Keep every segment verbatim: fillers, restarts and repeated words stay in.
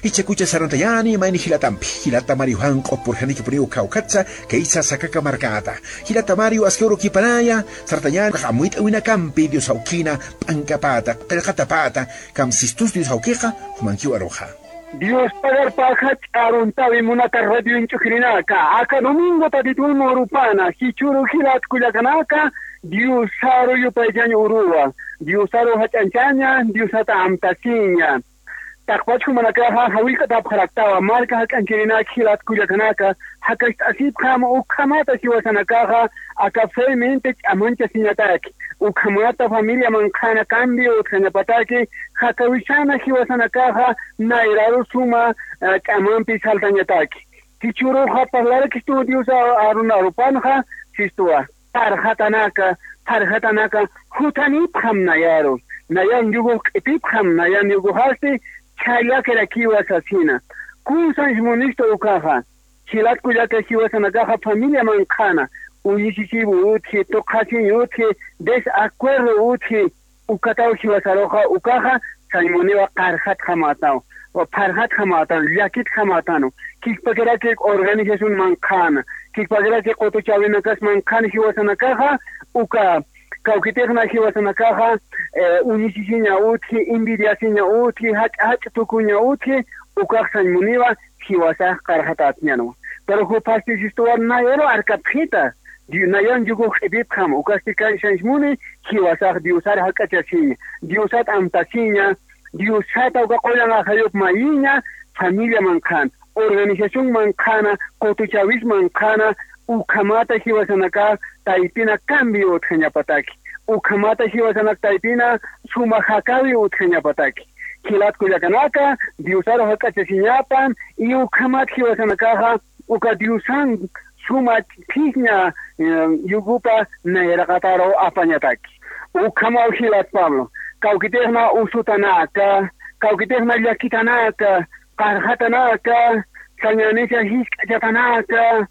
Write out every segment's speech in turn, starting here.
Ichakucha sarantañani mayni jilatampi, jilata Mario Janq'o purjaniki puriw kawkatsa, kaysa sakaka markata. Jilata Mario aski urukipanaya, sarantañani amuyt'awinakampï Dios awkina, p'ankapata, qillqatapata, kamsistus Dios awkiqa, jumankiw aruxa. Dios pagarpaxa ch'aruntawi munata radio inch'ukirinaka, aka domingo tatitun urupana, jichhuru jilat kullakanaka, Dios aru yupaychañ uruwa, Dios aru jach'anchaña, Dios ata amtasiña. Taqpach jumanakaxa jawillk'atapxaraktawa, marka jak'anchirinak jilat kullakanaka, jakacht'asipxam ukhamata jiwasanakaxa, aka femente ch'amanchasiñataki, ukhamata familia manqhana cambio utjañapataki, jakawisana jiwasanakaxa, nayraru suma, eh, ch'amampi saltañataki. Jichhüruxa parlarakistu Dios a-, aruna arupanxa, sistuwa. Pharxatanaka, pharxatanaka, juthanipxam nayaru, nayan yugux q'ipipxam, nayan yuguxasti chhallakirakiwa sasina. Kunsanch munistu ukaxa, jilat kullaka jiwasanakaxa familia manqhana, uñisisiw utji, tuqhasiñ utji, desacuerdo utji, ukataw jiwasaruxa, ukaxa sañ muniwa qarxatxamätaw, pharxatxamätan, llakitxamätanu, kikpakiraki organización manqhana, kikpakiraki qutuchäwinakas manqhana jiwasanakaxa, uka kawkitixna jiwasanakaxa, eh, uñisisiña utji, envidiasiña utji, jach'a jach'a tukuña utji, ukax sañ muniwa jiwasax qarxatätñanwa. Pero juphasti sistuwa nayaru arkapxita, Di-, nayan yugux q'ipipxam, ukasti kaysanch muni, jiwasax Diosar jak'achasiña, Diosat amtasiña, Diosata uka qullan ajayup mayiña, familia manqhan, organización manqhana, qutuchäwis manqhana, ukhamata jiwasanaka taypina cambio utjañapataki, ukhamata jiwasanak taypina suma jakäwi utjañapataki. Jilat kullakanaka, Diosaru jak'achasiñapan, y ukhamat jiwasanakaxa, uka Diosan suma phiña, eh, yugupa nayraqataru apañataki. Ukhamaw jilat Pablo, kawkitixna usutanaka, kawkitixna llakitanaka, qarxatanaka, sañänisa jisk'achatanaka,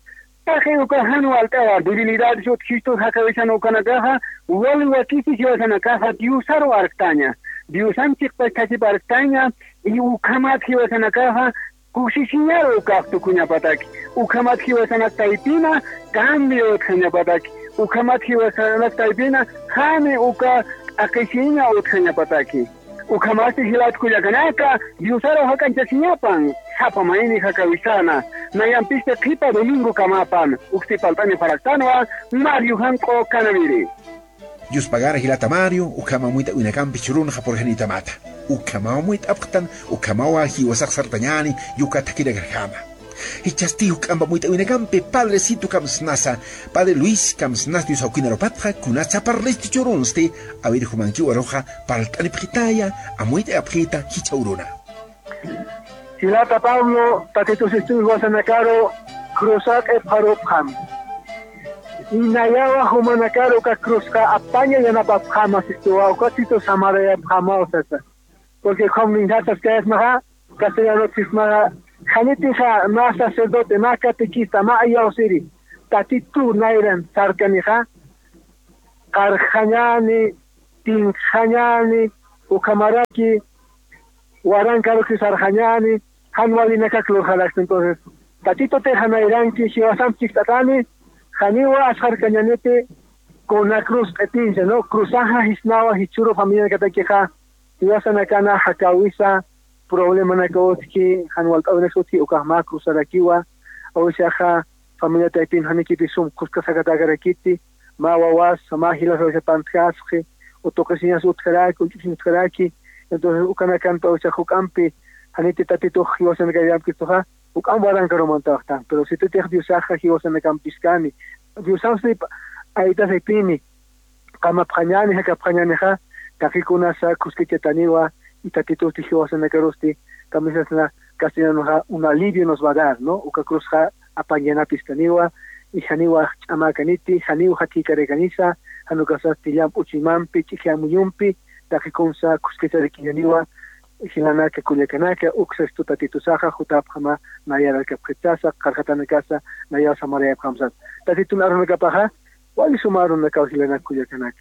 taqi uka jan walt'awa, debilidades utjistu jakawisan ukanakaxa, wali wakisi jiwasanakaxa Diosaru arktaña, Diosan chiqpach thasip arktaña, y ukhamat jiwasanakaxa, kusisiñaru ukax tukuñapataki, ukhamat jiwasanak taypina cambio utjañapataki, ukhamat jiwasanak taypina jani uka t'aqhisiña utjañapataki. Ukhamasti jilat kullakanaka, Diosaru jak'anchasiñapan, sapa mayni jakawisana, nayampista qhipa domingokamapan, uksti palt'anipxaraktanwa, Mario Janq'u Canaviri. Yuspagara jilata Mario, ukhama amuyt'awinakampi churunxa purjanïtamata. Ukhamaw amuyt'apxtan, ukhamawa jiwasax sartañäni, yukat thakirakarjama. Jichhasti juk'amp amuyt'awinakampi, Padrecito kamsnasa, Padre Luis kamsnas Dios awkin arupatxa, kunatsa parlistu churunsti, a ver jumankiw aruxa, palt'anipxitaya, amuyt'apxita, jichha uruna. Jilata Pablo, Tatitu sistuw jiwasanakaru cruzar q'ipxarupxam. Inayawa jumanakaru uka cruzxa apaña yanapapxama sistuwa, uka situ samarayapxamaw sasa. Porque ukham ninjatas kayasmaxa, castellano chismaxa, janitixa mä sacerdote, mä catequista, mä ayawsiri, Tatitu nayran sarkanixa, qarxañäni, tinxañäni, ukhamaraki warankaruki sarxañäni, jan walinakak lurxarakta. Entonces, Tatitutixa nayranki, jiwasamp chist'atani, janiwa asxarkañäniti, kuna cruz q'ipinsa, ¿no? Cruzaxa jisnawa, jichhüru familianakatakixa, jiwasanakana jakäwisa, problemanaka utji, jan walt'äwinak utji, ukax mä cruzarakiwa, awisaxa, familia taypin janikiti sum khuskasakatakärakiti, mä wawas, mä jilas awisa pantjasxi, o tuqisiñas utjaraki, uch'usiñ utjaraki. Entonces, ukanakampi awisa juk'ampi, janiti Tatitux jiwasanakar yamkistuxa, juk'amp warankarumantaxtan. Pero sititix Diosaxa jiwasanakamp phiskäni, Diosamp sip aytasipini, qamapxañäni, jakapxañänixa, taqi kunasa khuskachätaniwa, y Tatitusti jiwasanakarusti, kamisasna castellanoxa, un alivio nos va a dar, ¿no? Uka cruzxa apañ yanapistaniwa, y janiwa ch'amäkaniti, janiw jathïkarakanisa, jan ukasasti llamp uchuymampi, ch'iji amuyumpi, taqi kunsa khuskacharakiñäniwa, jilanaka kullakanaka, uksastu Tatitusaxa, jutapxama, nayar arkapxit sasa, qarxatanakasa, nayaw samarayapxam sasa. Tatitun arunakapaxa, wali suma arunakaw jilanaka kullakanaka.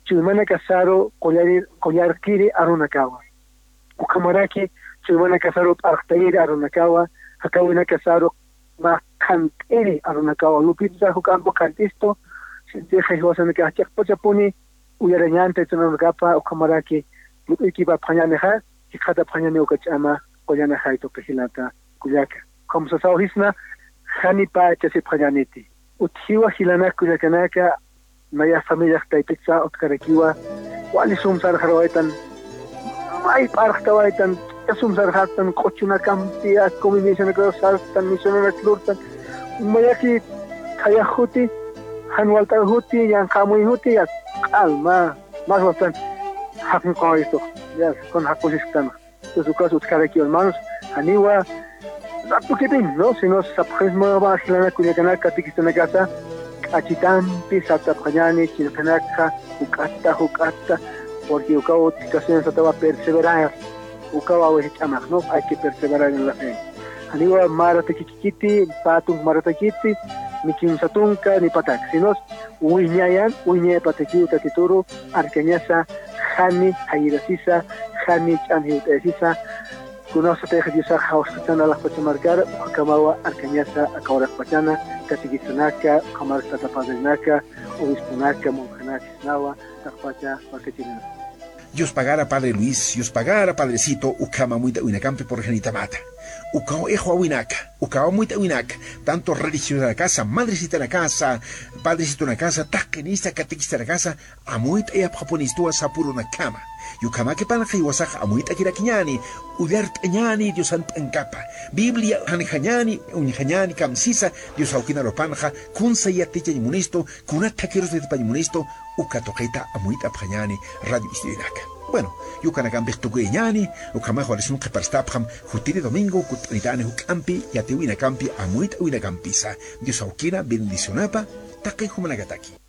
Chuymanakasaru qullari-, qullarkiri arunakawa. Ukhamaraki chuymanakasaru p'arxtayiri arunakawa, jakäwinakasaru mä qhant'iri arunakawa. Lupitsa juk'ampi qhant'istu, sitix jiwasanakax chiqpachapuni uyarañäni taytanakapa, ukhamaraki lup'ikipapxañänixa, jikxatapxañäni uka ch'ama qullan ajaytupi jilata kullaka. Ukham sasawjisna, janipa chasipxañäniti. Utjiwa jilanak kullakanaka, naya familiax taypitsa utkarakiwa, wali sum sarxarawaytan, may p'arxtawaytan, ch'ika sum sarxastan, q'uchunakampi, ak combinacionakaru sartan, misionanak lurtan, mayaki thayax juti, jan walt'aw juti, yanqhamuy juti, ya q'al mä, mä wastan jaqinqawaytux, ya, kun jaqusisktan. Entonces, ukas utjaraki, hermanos, janiwa ratukipin, ¿no? Sino sapxisma jilanak kullakanaka, catequistanakasa, k'achitampi sartapxañäni, chillqinakxa, juk'atta, juk'atta, porque ukaw utkasina satawa perseverar, ukaw a veces ch'amax, ¿no? Hay que perseverar en la fe. Janiwa mä ratakikiti, pä tunka mä ratakiti, ni kimsa tunka, ni patak, sino wiñayan, wiñayapatakiw Tatituru, arkañasa, jani jayirasisa, jani ch'am jiwt'ayasisa, kunasatix Diosax jawsqatan alaxpacha markar, ukhakamawa arkañasa aka uraqpachana, catequistanaka, ukhamaraki tata padrenaka, obisponaka, monjanaka, sisnawa, taqpacha markachirinaka. Dios pagara, Padre Luis, Dios pagara, Padrecito, ukham amuyt'awinakampi purxanitamata. Ukaw ixwawinaka, ukaw amuyt'awinaka, tanto religiosanakasa, madresitanakasa, padresitonakasa, taqinisa, catequistanakasa, amuyt'ayapxapunistuwa sapürunakama. Ukhamaki panqha jiwasax amuyt'akirakiñäni, ullart'añäni Diosan p'ankapa. Biblia janjañäni, uñjañäni kamsisa, Dios awkinarupanxa, kunsa yatichañ munistu, kunat thakirus yatipañ munistu, uka tuqita amuyt'apxañäni radio estudionaka. Bueno, ukanakampix tukuyañäni, ukhamax wali sum qhiparstapxam, jutiri domingo kutt'anitäni juk'ampi, yatiwinakampi, amuyt'awinakampisa. Dios awkina bendicionapa, taqi jumanakataki.